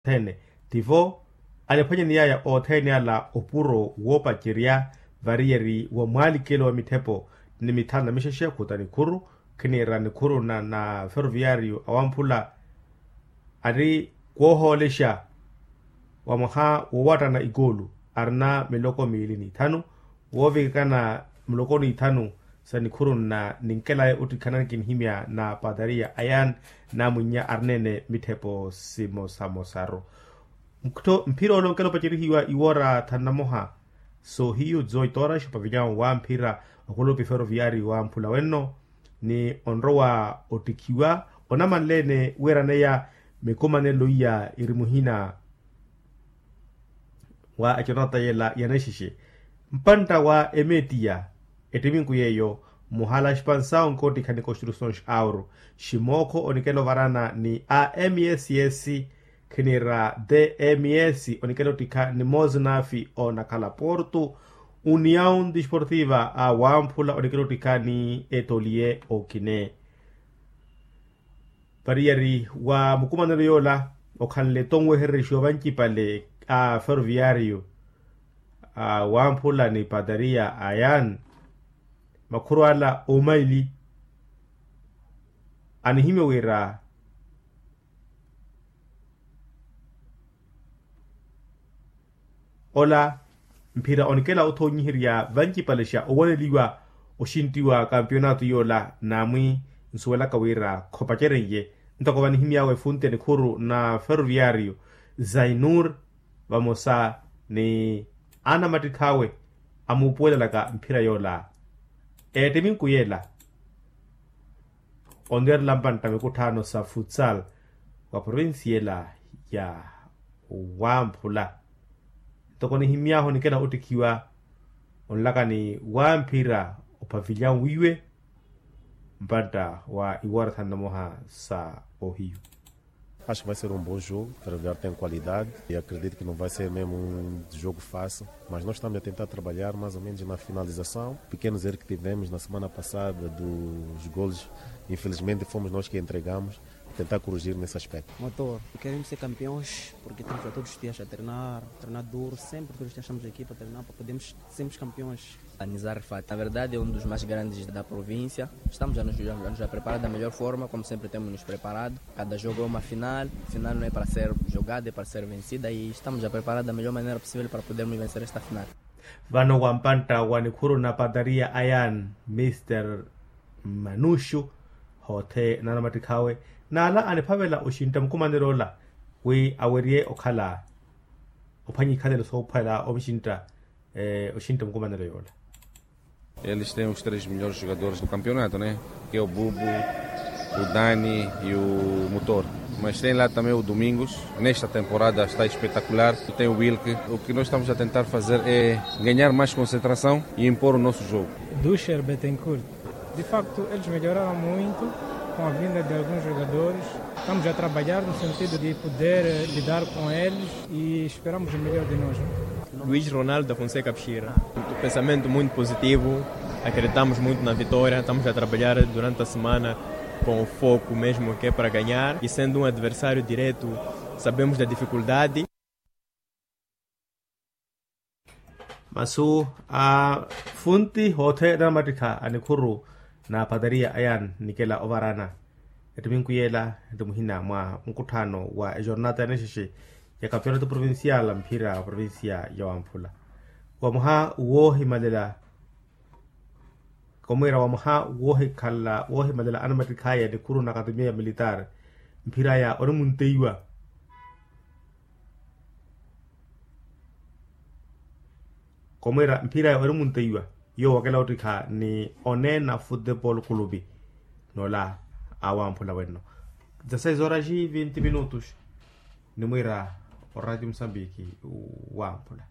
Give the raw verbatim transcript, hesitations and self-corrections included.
Ene tivo aniphwanyaniyaya othene ala opuro woopacerya variyeri wa mwaalikelo wa mitthepo ni mithanu na mixexe khuta nikhuru khiniira nikhuru na na ferroviario awamphula ari kwohoolexa wa mwaha wowattana ikoolu arina miloko miili n'ithanu woovikana muloko n'ithanu sa nikhuru nna ninkelaye ottikhana nikinihimya na patariya ayan namwinnya arineene mitthepo simosamosaru. Mphira ole onkela opacerihiwa iwoora thanu na moha soohiyu dzoi tooraxi opavilyawo wa mphira okulupi ferroviari wa mphula wenno ni onrowa ottikhiwa onamanleene wiiraneya mikumanelo iya iri muhina wa econata yela ya naxixe mpantta wa emetiya ettiminku yeeyo muhala xipansawo nkottikha ni constructions auro ximookho onikela ovarana ni a mss khiniira tms onikela ottikha ni mosnafi onakhala porto uniaun disportiva a wamphula onikela ottikha ni etolie okine. Variyari wa mukumanelo yoola okhanle tonwehererexiwa vancipale a ferroviario a wamphula ni patariya ayan makhuru ala omaili anihimya wira ola mphira onikela othoonyiherya vancipalexa owaneliwa oxintti wa kampionato yoola naamwi nsuwelaka wira khopaceren'ye ntoko vanihimy'awe efunti ya nikhuru na ferroviario zainur vamosa ni anamattikhawe amuupuwelelaka mphira yoola. Eettiminku yeela onwerela mpantta mikutthaano sa futsal wa provincia ela ya wamphula ntoko nihimy'ahu onikela ottikhiwa onlaka ni wamphira ophavilya nwiiwe mpantta wa iwoora thanu na moha sa ohiyu. Acho que vai ser um bom jogo. Ferroviário tem qualidade e acredito que não vai ser mesmo um jogo fácil. Mas nós estamos a tentar trabalhar mais ou menos na finalização. Pequenos erros que tivemos na semana passada dos golos, infelizmente fomos nós que entregamos. Tentar corrigir nesse aspecto. Motor, queremos ser campeões porque estamos a todos os dias a treinar, treinar duro, sempre todos os dias estamos aqui para treinar para podermos sermos campeões. Anizar Fati, na verdade é um dos mais grandes da província. Estamos a nos, a nos a preparar da melhor forma, como sempre temos nos preparado. Cada jogo é uma final, final não é para ser jogada, é para ser vencida e estamos a preparar da melhor maneira possível para podermos vencer esta final. Vano wa mpantta wa nikhuru na patariya ayan mister manuxu hoothe na anamattikhawe n'ala aniphavela oxintta mukumanelo ola wi awerye okhala ophwanya ikhalelo soophwela omuxintta oxintta mukumanelo yoola. Eles têm os três melhores jogadores do campeonato, né? Que é o Bubu, o Dani e o Motor. Mas tem lá também o Domingos. Nesta temporada está espetacular. Tem o Wilke. O que nós estamos a tentar fazer é ganhar mais concentração e impor o nosso jogo. Dusher Betancourt. De facto, eles melhoraram muito com a vinda de alguns jogadores. Estamos a trabalhar no sentido de poder lidar com eles e esperamos o melhor de nós. Luís Ronaldo da Fonseca Pixira. Pensamento muito positivo, acreditamos muito na vitória, estamos a trabalhar durante a semana com o foco mesmo que é para ganhar e sendo um adversário direto, sabemos da dificuldade. Masu a funti hoothe na mattikha a nikhuru na patariya ayan nikela ovarana. Ettiminku yeela eti muhina mwa nkutthaano wa ejornata ya nixexe ya kampionato provincial a mphira wa provincia ya wamphula wa mwaha woohimalela. Komwiira wa mwaha woohikhala woohimalela anamattikhaya nikhuru na akatemiya ya militaari mphiraya onimunteiwa. Komwiira mphiraya onimunteiwa yoowo akela ottikha ni oneena futepolo kulupi. Noola awamphula wenno dza seis horas e vinte minutos. Nimwiira oradio musambiki wamphula.